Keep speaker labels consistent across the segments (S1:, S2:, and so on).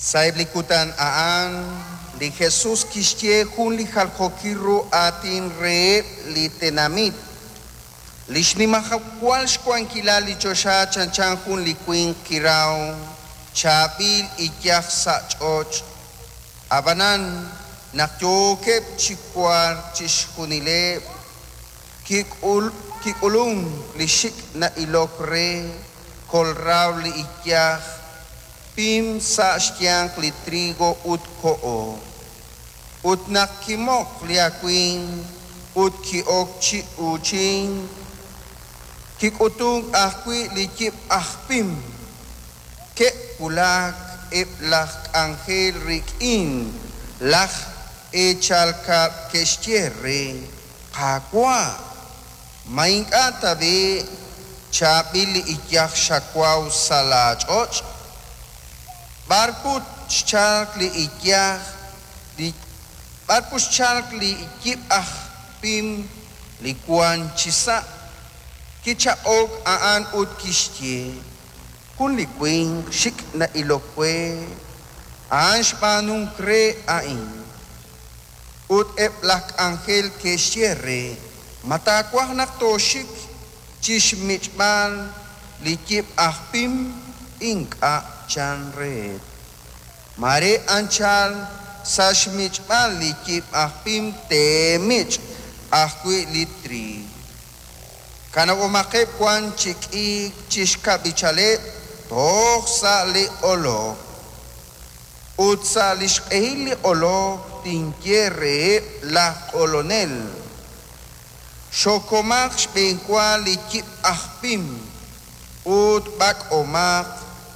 S1: Sa'eb' li kutan a'an, li Jesus kixye jun li jaljookil ru aatin reheb' li tenamit: Li xnimajwal xwankilal li choxa chanchan jun li winq kiraw chaab'il iyaj sa' ch'och'. Ab'anan, naq yookeb' chi wark chixjunileb', kik'ulunk li xik' na'ilok re, kolraw li iyaj pim sa' xyanq li trigo ut koho. Ut naq kimoq li awimq ut ki'ok chi uuchink, kik'utunk ajwi' li yib' aj pim. Ke'wulak eb' laj k'anjel rik'in laj eechal kab'l ke'xye re: Qaawa', ma ink'a' tab'i' chaab'il li iyaj xawaw sa' laach'och'? B'ar put xchalk li iyaj li b'ar put xchalk li yib' aj pim li wank chisa'? Kichaq'ok a'an ut kixye: Jun li winq xik' na'ilok we, a'an xb'aanunk re a'in. Ut eb' laj k'anjel ke'xye re: Ma taawaj naq tooxik chi xmich'b'al li yib' aj pim? Ink'a', chan reheb'. Mare anchal sa' xmich'b'al li yib' aj pim teemich' ajwi' li triiw. Kanab'omaqeb' wan chi k'iik chi xkab'ichaleb' toj sa' li q'olok. Ut sa' li xq'ehil li q'olok tinye reheb' laj q'olonel: Xokomaq xb'enwa li yib' aj pim ut b'ak'omaq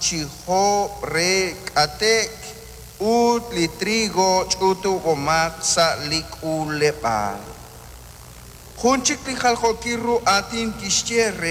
S1: chi joob' re k'ate'k, ut li trigo ch'utub'omaq sa' li k'uuleb'aal. Jun chik li jaljookil ru aatin kixye re.